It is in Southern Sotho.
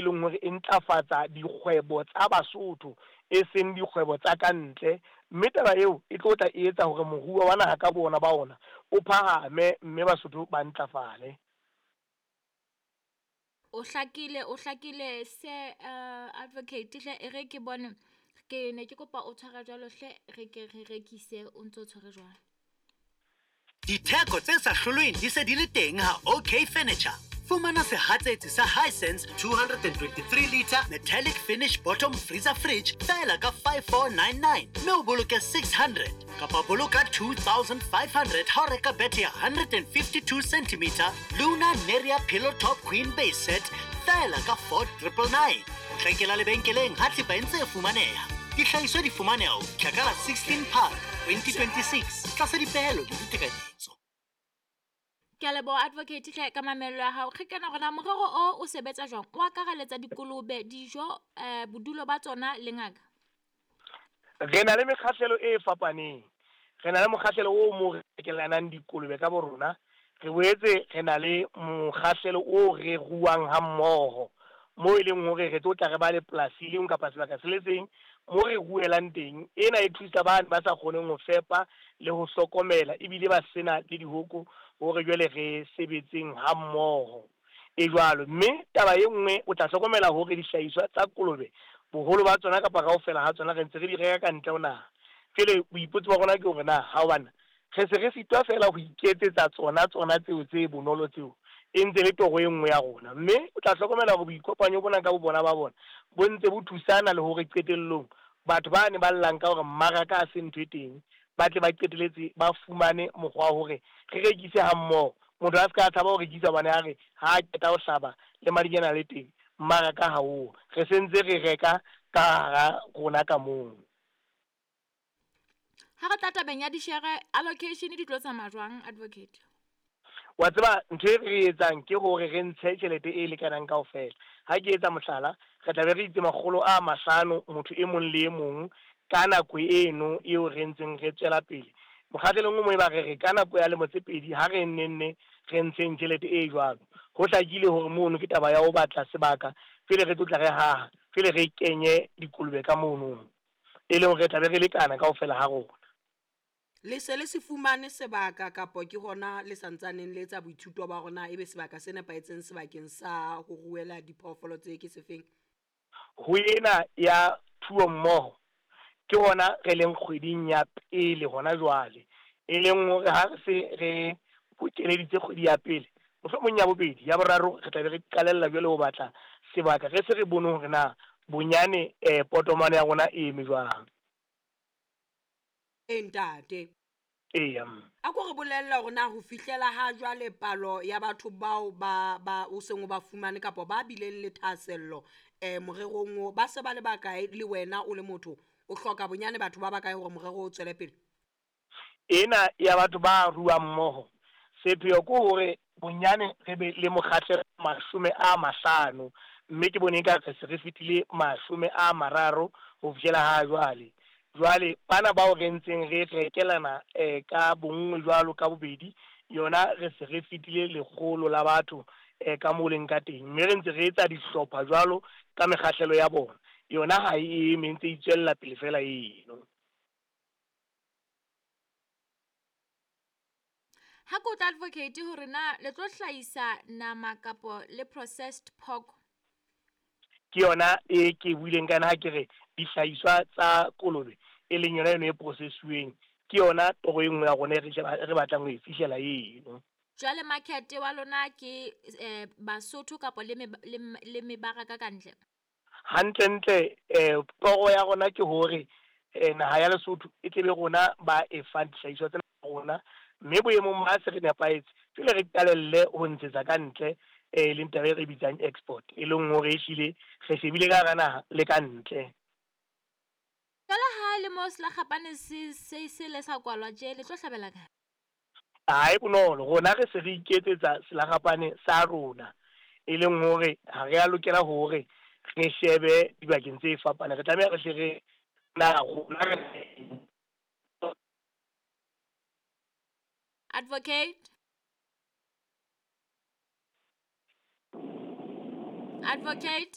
leng hore e ntlafatsa dikgwebo tsa Basotho e seng dikgwebo tsa ka ntle, mme taba eo e tlo tla e etsa hore moruo wa naha ka boona ba ona o phahame mme Basotho ba ntlafale. O hlakile, o hlakile se uh, advocate hle e re ke bone ke ne ke kopa o tshwara jwalo hle re ke re rekise o ntse o tshwere jwalo. Ditheko tse sa hlolweng di se di le teng ha OK Furniture. Fumana sehatsetsi sa Hisense 223 litre metallic finish bottom freezer fridge feela ka 5499 mme o boloke 600 kapa boloka 2500 ha o reka bethe ya 152 cm Luna Neria Pillow Top Queen Base Set feela ka 4999. Potlakela lebenkeleng ha thepa e ntse e fumaneha. Dihlahiswa di fumaneha ho fihla ka la 16 Phato 2026 tlasa dipehelo le ditekanyetso. Ke a leboha advocate hle ka mamello ya hao. Re kena hore na morero o o sebetsa jwang. O akaraletsa dikolobe, dijo, eh, bodulo ba tsona le ngaka. Re na le mekgahlelo e fapaneng. Re na le mokgahlelo o moo re rekelanang dikolobe ka borona. Re boetse re na le mokgahlelo oo re ruang ha mmoho, moo e leng hore re tlo tla re ba le polasi e le nngwe kapa sebaka se le seng moo re ruelang teng. Ena e thusa bane ba sa kgoneng ho fepa le ho hlokomela ebile ba sena le dihoko hore jwale re sebetseng ha mmoho. E jwalo. Mme taba e nngwe o tla hlokomela hore dihlahiswa tsa kolobe boholo ba tsona kapa kaofela ha tsona re ntse re di reka ka ntle ho naha. Jwale boipotso ba rona ke hore na ha hobane Re se re sitwa feela ho iketsetsa tsona, tsona tseo tse bonolo tseo, e ntse e le toro e nngwe ya rona. Mme o tla hlokomela hore boikopanyo bona ka bobona ba bona bo ntse bo thusana le hore qetellong batho bane ba llang ka hore mmaraka ha se ntho e teng, ba tle ba qeteletse ba fumane mokgwa wa hore re rekise hammoho. Motho a se ka a tshaba ho rekisa hobane a re ha a qeta ho hlaba le madinyane a le teng, mmaraka ha oo. Re se ntse re reka ka hara rona ka mono. Ha re tla tabeng ya dishere, allocation di tlo tsamaya jwang, advocate? Wa tseba ntho e re e etsang ke hore re ntshe tjhelete e lekanang kaofela. Ha ke etsa mohlala, re tla be re itse 500 motho e mong le e mong ka nako eno eo re ntseng re tswela pele. Mokgahlelong o mong e ba re re ka nako ya lemo tse pedi ha re nne nne re ntsheng tjhelete e jwalo. Ho hlakile hore mono ke taba ya ho batla sebaka pele re tlo tla re haha, pele re kenye dikolobe ka mono. E leng hore re tla be re lekana kaofela ha rona. Le se le se fumane sebaka kapo ke hona le sa ntsaneng le etsa boithuto ba hore na ebe sebaka se nepahetseng sebakeng sa ho ruela diphoofolo tsee ke sefeng? Ho ena ya thuo mmoho, ke hona re leng kgweding ya pele hona jwale, e leng hore ha re se re bokeleditse kgwedi ya pele, mohlomong ya bobedi, ya boraro re tla be re qalella jwale ho batla sebaka, re se re bone hore na bonyane um potomane ya rona e eme jwang. Ee, ntate. Eya, mme. A ko re bolelle hore na ho fihlela ha jwale palo ya batho bao ba, ba o seng o ba fumane kapa ba bileng le thahasello um morerong o, ba se ba le bakae, le wena o le motho o hloka bonyane batho ba bakae hore morero o tswele pele? Ena ya batho ba ruang mmoho, sepheo ke hore bonyane re be le mokgahlelo 50, mme ke bone eka re se re fetile 30 ho fihlela ha jwale. Jwale bana bao re ntseng re rekelana ka bonngwe jwalo ka bobedi, yona re se re fetile 100 la batho ka moo leng ka teng, mme re ntse re etsa dihlopha jwalo ka mekgahlelo ya bona. Yona ha e eme, e ntse e itswella pele feela eno. Ha ke utlwa advocate hore na le tlo hlahisa nama kapo le processed pork. Ke yona e ke buileng ka yona ha ke re dihlahiswa tsa kolobe e leng yona eno e processuweng, ke yona toro e nngwe ya rona e re e re batlang ho e fihlela eno. Jwale market wa lona ke eh, Basotho kapo le, le, le mebaraka ka ntle? Hantlentle toro ya rona ke hore naha ya Lesotho e tle be rona ba e fang dihlahiswa tsena tsa rona, mme boemong ba se re nepahetse, jwale re qalelle ho ntshetsa ka ntle, e leng taba e re bitsang export, e leng hore ehlile re shebile ka hara naha le ka ntle. Jwale ha le mo selakgapane se se se le sa kwalwa tje, le tlo hlabela kae? Ha e bonolo, rona re se re iketsetsa selakgapane sa rona, e leng hore ha re a lokela hore re shebe dibakeng tse fapaneng. Re tlameha re hle re na rona re Advocate. Advocate.